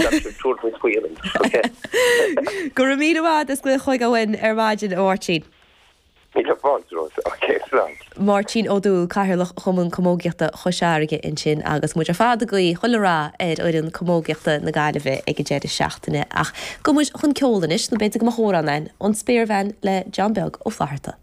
Caithfidh sibh tabhairt muid faoi anois, ok? Go raibh míle maith agat as glaoch chugainn ar maidin, a Mháirtín. Míle fáilte romhat. Ok, slán. Máirtín Ó Dúill, Cathaoirleach Chumann Camógaíochta Chois Fharraige ansin agus muid ar fad ag guí chuile rath ar fhoireann camógaíochta na Gaillimhe ag an deireadh seachtaine. Ach gabhfaidh muid chun ceoil anois, nó b'fhéidir go mbeadh amhrán againn, An Spéirbhean le John Beag Ó Flatharta.